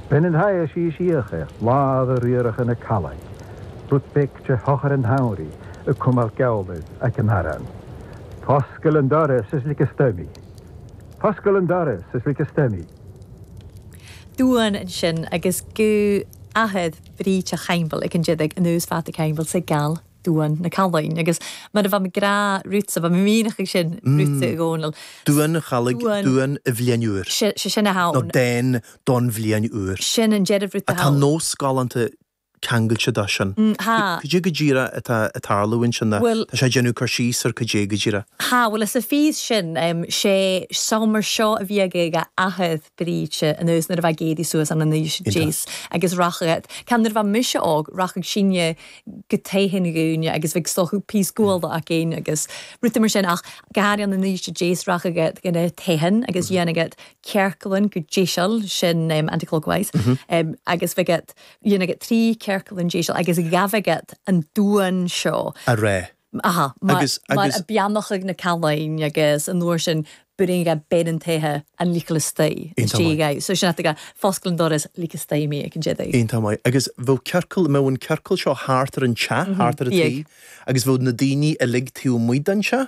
Bein an thaidhe síos íoch air lámh a riarach ina callaigh, rud beag de shochar an shamhraidh ag cuimilt geamhlaidh aic an arán. Foscail an doras is lig istoigh mí. Foscail an doras is lig istoigh mí. Duan ansin agus gu athad Bríd Chaimbeul ag an deireadh anuas fada Caimbeul sa gal Duan na Callainn agus mar a bheadh mé grá Rútsa bheadh mé mianach ag sin Rútsa i gCónall. Duan an Challaigh, duan i bhliain úr. Sé sin a Nó thabhain. dán don bhliain úr. Sin an deireadh rud a Tá thabhain. nós galánta ceangailte dó sin. Thá. Cad é go díreach atá ag tarlú ansin? Nó Bhuel. tá sé ag déanamh cur síos ar cad é go díreach? Thá, bhuel is a phíos sin, sé summer seo a bhí ag a athair Bríde anuas nuair a bheadh éadaí suas an an aois Iontach. deas agus rachadh, ceann nuair a bheadh mise óg, rachadh sinne go toigh an dhúine agus bheadh stothadh píos guala againn agus rudaí mar sin ach go háirithe an an aois deas rachadh go na toigheann agus dhéanfadh ciorclann go deiseal sin anti-clockwise agus bheadh dhéanfadh 3 ciorclann deiseal agus ghabhadh an duan seo. A rá. Aha, mar, Agus, mar agus. a beannachadh na callainn agus an uair sin bring a ben an toighe an lichel istoigh Iontach maith. istigh. So sin ag foscail an doras lig istoigh mé ag an deireadh. Iontach maith. Agus bheadh ciorcal, mbeadh an ciorcal seo thart ar an teach, thart ar an Bheadh. taobh, agus bheadh na daoine uilig taobh amuigh den teach?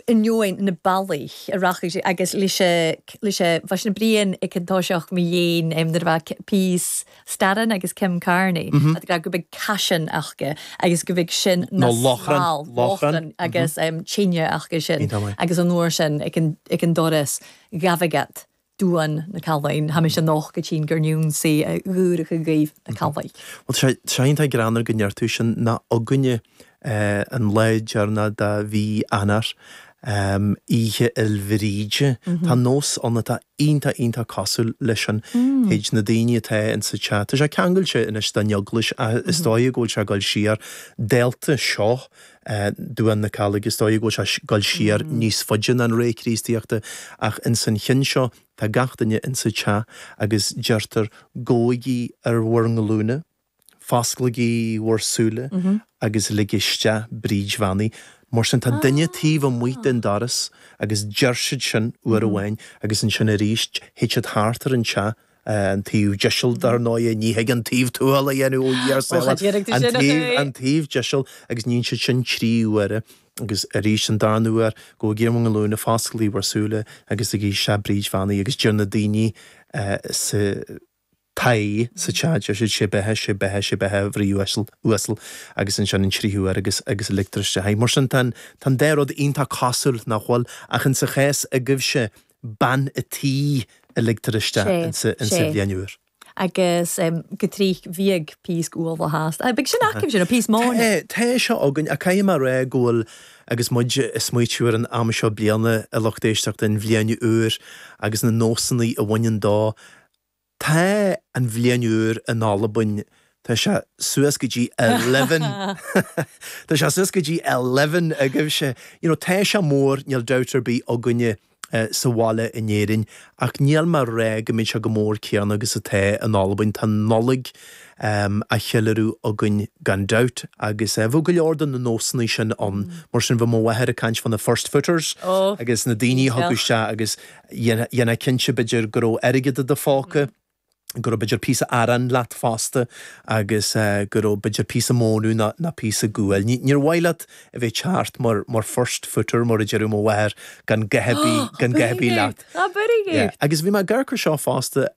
ainneoin na bealaí a rachaidh sé agus leis a leis a bheadh sin Brian ag an toiseach mo dhéin nuair a bheadh píos Staran agus Kim Carney mm go mbeidh caisean acu agus go mbeidh sin na Nó lóchrann, smál, lóchrann. lóchrann agus tine acu sin Iontach maith. agus an uair sin ag an ag an doras ghabhadh Duan na Callainn, tha mise noch go tinn gur n-ionnsaigh a dhúracha gaibh na Callaigh. Bhuel, tá sé iontach greannmhar go ndeir tú sin, ná againne an lá deireanach de mhí Eanáir, Oíche Fhéil Bhríde, tá nós ann atá iontach, iontach cosúil leis sin, théid na daoine atá insa teach, tá sé ceangailte anois den eaglais ach is dóigh go bhfuil sé ag dul siar, dálta seo, Duan na Callaigh, is dóigh go bhfuil sé ag dul siar níos faide ná an ré Críostaíochta, ach ins an chinn seo tá gach duine insa teach agus deirtear gabhaigí ar bhur nglúine, fosclaigí bhur súile agus lig isteach Bríd Bheannaithe. Mar sin tá duine taobh amuigh den doras agus deir siad sin uair amháin agus ansin arís théid siad thart ar an teach an taobh deiseal dar ndóighe, ní thig an taobh tuathail a dhéanamh ó Dhia ár sábháil, an taobh, an taobh deiseal agus níonn siad sin 3 huaire agus arís an darna huair, gabhaigí ar bhur nglúine, fosclaigí bhur súile agus ligigí isteach Bríd Bheannaithe agus deir na daoine sa tigh, sa teach, deir siad sé beatha, sé beatha, sé beatha a Mhnaoi uasal, uasal agus ansin an tríú huair agus, agus ligtear isteach í. Mar sin tá an, tá an dá rud iontach cosúil, nach bhfuil? Ach insa chás agaibhse, bean a' tí a ligtear isteach insa bhliain úr. Agus go trích bhíodh píosc ualach as. Beidh sin acu sin, nó píos móna. Tá, tá seo againn, ach caithfidh mé a rá go bhfuil, agus muid ag smaoitiú ar an am seo bliana, a lucht éisteachta, an bhliain úr agus na nósanna a bhaineann dó, Tá an bhliain úr in Albain, tá sé suas go dtí eleven, tá sé suas go dtí eleven agaibhse. You know, tá sé mór, níl dabht ar bith againne sa bhaile in Éirinn, ach níl mé a rá go mbíonn sé chomh mór céanna agus atá in Albain. Tá an Nollaig á cheiliúradh againn gan dabht agus bheadh go leor de na nósanna sin ann. Mar sin, bheadh mo mháthair ag caint fá na first footers agus na daoine a thagadh isteach agus Dhéanfá cinnte, b'fhéidir, go raibh airgead i do phóca, go raibh b'fhéidir píosa aráin leat fosta agus go raibh b'fhéidir píosa mónadh nó nó píosa guail. Níor mhaith leat a bheith ag teacht mar mar first footer mar a deireadh mo mháthair gan dhath ar bith gan dhath ar bith leat. Abair Agus bhí mé ag amharc ar seo fosta,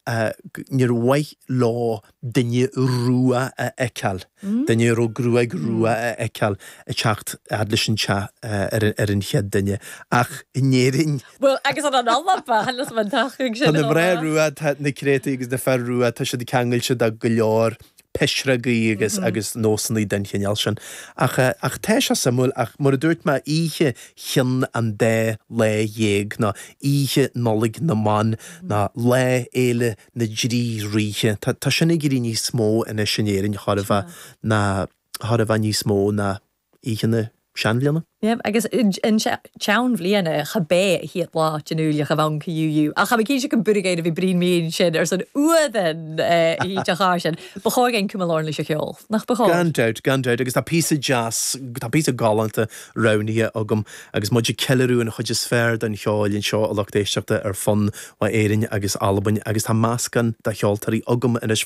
níor mhaith leo duine rua a fheiceáil, duine a raibh gruaig rua a fheiceáil ag teacht fhad leis an teach ar an chéad duine. Ach in Éirinn. Bhuel, agus an an Alba, than an tachaidh sin. Tá na mná rua, tá na créataí agus na fir rua, tá siad ceangailte de go leor pisreogaí agus agus nósanna den chineál sin. Ach ach tá sé suimiúil, ach mar a dúirt mé, oíche chionn an dá lá dhéag, nó oíche Nollaig na mBan, nó Lá Fhéile na dTrí Ríthe. Tá, tá sin ag éirí níos mó anois in Éirinn, chóir a bheith, ná, chóir a bheith níos mó ná Oíche na Seanbhliana. Yep, agus an tseanbhliana cha b'é a chéad lá den Iúil cha bheadh ann UU. Ach cha mbeidh cinnte go b'fhuirgéin a bhí Brian Mean sin ar son uamhan oíche chár sin. Ba chóir againn cuma lárn leis an cheol, nach ba chóir? Gan dabht, gan dabht, agus tá píosa deas, tá píosa galánta roghnaithe agam agus muid ag ceiliúradh an chuid is fearr den cheol anseo a lucht éisteachta ar fud Éirinn agus Albain agus tá meascán de cheoltóirí agam anois.